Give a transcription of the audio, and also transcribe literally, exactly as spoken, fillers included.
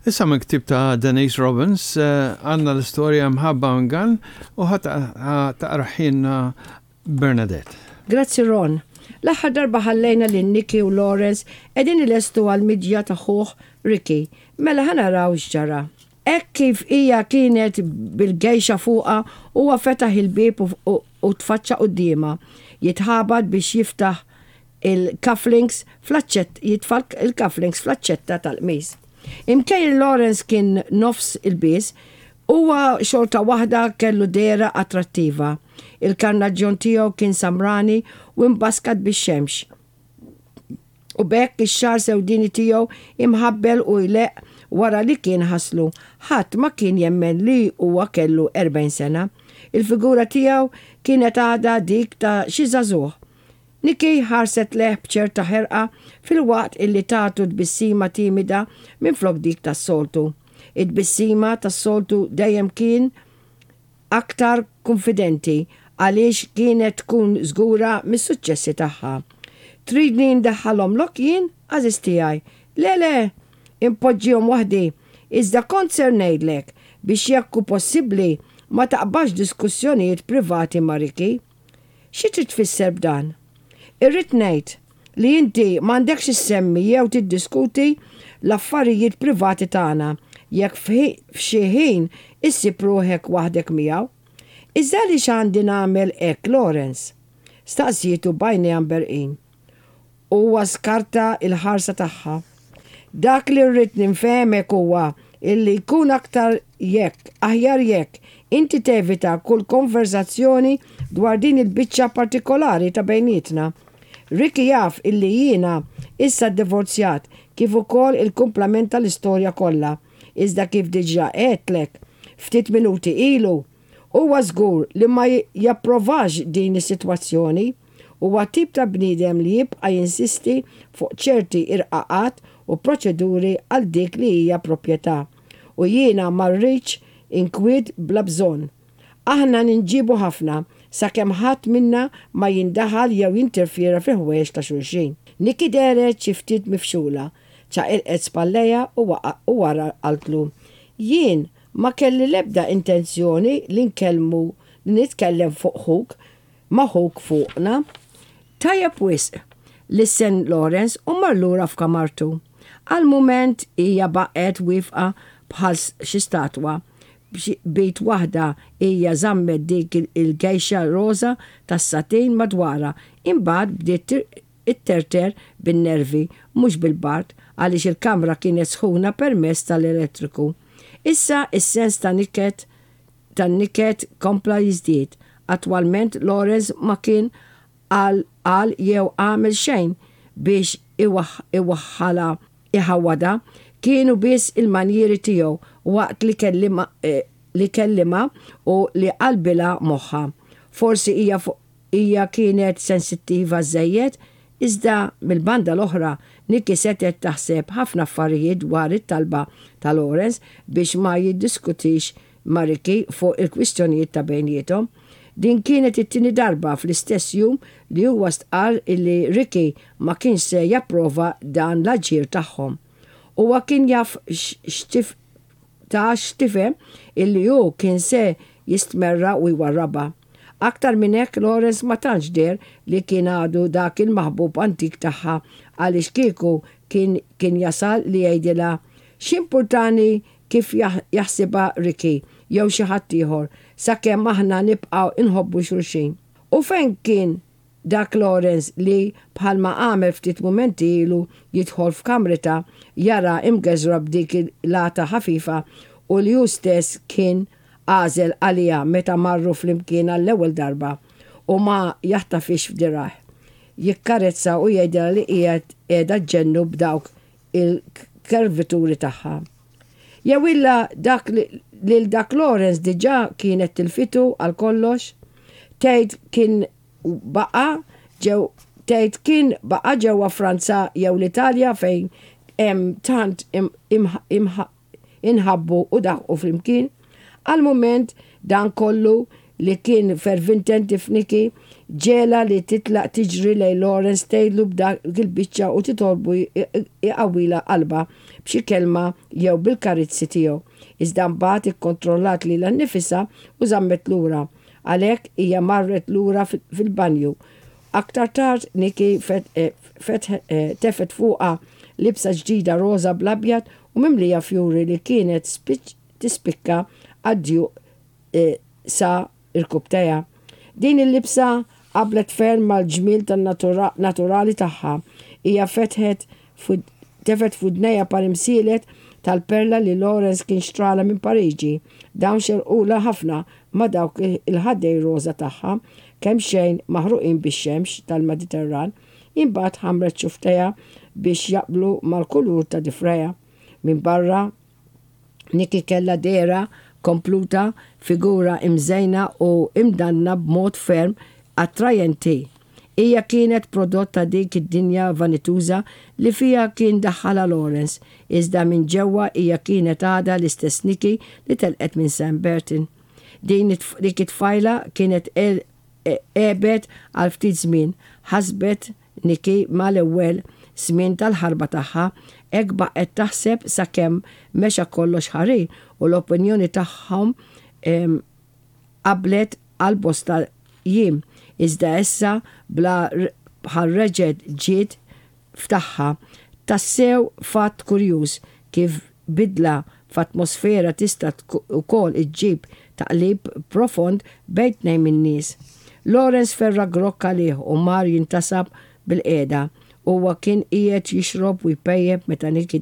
Issa minn ktib ta' Denise Robbins eh, għandna l-istorja Mħabba Ingann u ħa taqrahielna Bernadette. Grazzi, Ron. L-aħħar darba ħallejna lil Nikki u Lawrence qegħdin ilestu għal-miġja ta' ħuh Ricky. Mela ħa naraw x'ġara. Hekk kif hija kienet bil-geisha fuqha, huwa fetaħ il-bib u, u tfaċċa quddiemha. Jitħabat biex jiftaħ il-cufflinks fl-aċċett, jitfa' il-cufflinks fl-aċċetta tal-qmis. Imkejn Lawrence kien nofs ilbies, huwa xorta waħda kellu dehra attrattiva. Il-karnaġġjon tiegħu kien samrani u imbaskat bix-xemx. U b'hekk ix-xagħar sewdini tiegħu imħabbel u jleqq wara li kien ħaslu. Ħadd ma kien jemmen li huwa kellu erbgħin sena. Il-figura tiegħu kienet għadha dik ta' xi żagħżugħ. Nikki ħarset lejh b'ċerta ħerqa filwaqt illi tatu tbissima timida minn flok dik tas-soltu. Id-tbissima tas-soltu dejjem kien aktar konfidenti għaliex kienet tkun żgura mis-suċċessi tagħha. "Tridni ndaħħalhomlok jien, għażiż tiegħi?" "Le, le, inpoġġihom waħdi. Iżda kont ser ngħidlek biex jekk hu possibbli ma taqbax diskussjonijiet privati ma' Ricky." "Xi trid tfisser b'dan?" "Irrid ngħid li inti m'għandekx issemmi jew tiddiskuti l-affarijiet privati tagħna jekk f'xi ħin issib ruħek waħdek miegħu." "Iżda li x'għandi nagħmel hekk, Lawrence?" staqsietu b'għajnejha mberrqin. Huwa skarta il-ħarsa tagħha. "Dak li rrid nifhmek huwa illi jkun aktar jekk, aħjar jekk, inti tevita kull konverzazzjoni dwar din il-biċċa partikolari ta' bejnietna. Ricky jaf illi jiena issa divorzjat kif ukoll il-kumplament tal-istorja kollha. Iżda kif diġà għedtlek ftit minuti ilu, huwa żgur li ma japprovax din is-sitwazzjoni. Huwa tip ta' bniedem li jibqa' jinsisti fuq ċerti irqaqat u proċeduri għal dik li hija proprjetà. U jiena ma rridx inkwiet bla bżonn. Aħna ninġibu ħafna sakemm ħadd minna ma jindaħal jew jinterfiera fi ħwejjeġ ta' xulxin." Nikki dehret xi ftit mifxula, ċaqilqet spallejha u wara qaltlu: "Jien ma kelli lebda intenzjoni li nkellmu li nitkellem fuq ħuk ma' ħuk fuqna." "Tajjeb wisq," lissen Lawrence u mar lura f'kamartu. Għal mument hija baqgħet wieqfa bħal xi statwa. B'id waħda hija żammet dik il-geisha roża tas-satin madwarha, imbagħad bdiet itterter bin-nervi, mhux bil-bard, għaliex il-kamra kienet sħuna permezz tal-elettriku. Issa is-sens ta' niket tan-niket kompla jiżdied. Attwalment Lawrence ma kien qal qal jew għamel xejn biex iwaħħala iħawada, kienu biss il-manjieri tiegħu waqt li kellima eh, li kellima u li qalbilha moħħha. Forsi hija hija kienet sensittiva żejjed, iżda mill-banda l-oħra Nikki setet taħseb ħafna affarijiet dwar it-talba ta' Lawrence biex ma jiddiskutix ma' Ricky fuq il-kwistjonijiet ta' bejniethom. Din kienet it-tieni darba fl-istess jum li huwa stqar illi Ricky ma kienx se japprova dan l-aġir tagħhom. Huwa kien jaf x'tif ta' x'tifhem illi hu kien se jistmerra u jwarraba. Aktar minn hekk, Lawrence ma tantx deher li kien għadu dak il-maħbub antik tagħha, għaliex kieku kien kien jasal li jgħidilha x'importani kif jaħsibha Ricky jew xi ħadd ieħor sakemm aħna nibqgħu inħobbu xulxin. U fejn kien dak Lawrence li bħalma għamel ftit mumenti ilu jidħol f'kamritha jara imgeżra b'dik il-għata ħafifa u li hu stess kien għażel għalija meta marru flimkien għall-ewwel darba, u ma jaħtafhiex f'dirgħajh, jikkarezza u jgħidilha li qiegħed qiegħda ġġennu b'dawk il-kervituri tagħha? Jew illa dak lil dak Lawrence diġà kienet tilfitu għal kollox? Tgħid kien baqa' ġew tgħid kien baqa' ġewwa Franza jew l-Italja fejn hemm tant inħabbu u daħqu flimkien? Għal mument dan kollu li kien fervententi f'Nikki ġegħelha li titlaq tiġri lejn Lawrence, tgħidlu b'dak il-biċċa u titolbu jqawwilha qalbha b'xi kelma jew bil-karizzi tiegħu. Iżda mbagħad ikkontrollat lilha nnifisha u żammet lura. Għalhekk hija marret lura fil-banju. Aktar tard Nikki eh, eh, tefgħet fuqha libsa ġdida roża bl-abjad u mimlija fjuri li kienet tispikka għad-djuq eh, sa rkubbtejha. Din il-libsa qablet ferm mal-ġmiel tan-naturali tagħha. Hija fetħet tefgħet f'widnejha par imsielet tal-perla li Lawrence kien xtralha minn Pariġi. Dawn xerqulha ħafna ma' dawk il-ħaddejn roża tagħha, kemxejn maħruqin bix-xemx tal-Mediterran. Imbagħad ħammret xufftejha biex jaqblu mal-kulur ta' difrejha. Minn barra Nikki kellha dehra kompluta, figura imżejna u imdanna b'mod ferm attrajenti. Hija kienet prodott ta' dik id-dinja vanituża li fiha kien daħħalha Lawrence, iżda minn ġewwa hija kienet għadha l-istess Nikki li telqet minn Saint Bertin. Din dik it-tfajla kienet għebet għal ftit żmien, ħasbet Nikki mal-ewwel żmien tal-ħarba tagħha. Hekk baqgħet taħseb sakemm mexa kollox ħarir u l-opinjoni tagħhom qablet għal bosta jiem. Iżda issa bla bħal reġgħet ġiet f'tagħha. Tassew fatt kurjuż kif bidla f'atmosfera tista' ukoll iġġib taqlib profond bejn tnejn min-nies. Lawrence ferra grokk għalih u mar jintasab bilqiegħda. Huwa kien qiegħed jixrob u jpejjep meta Nikki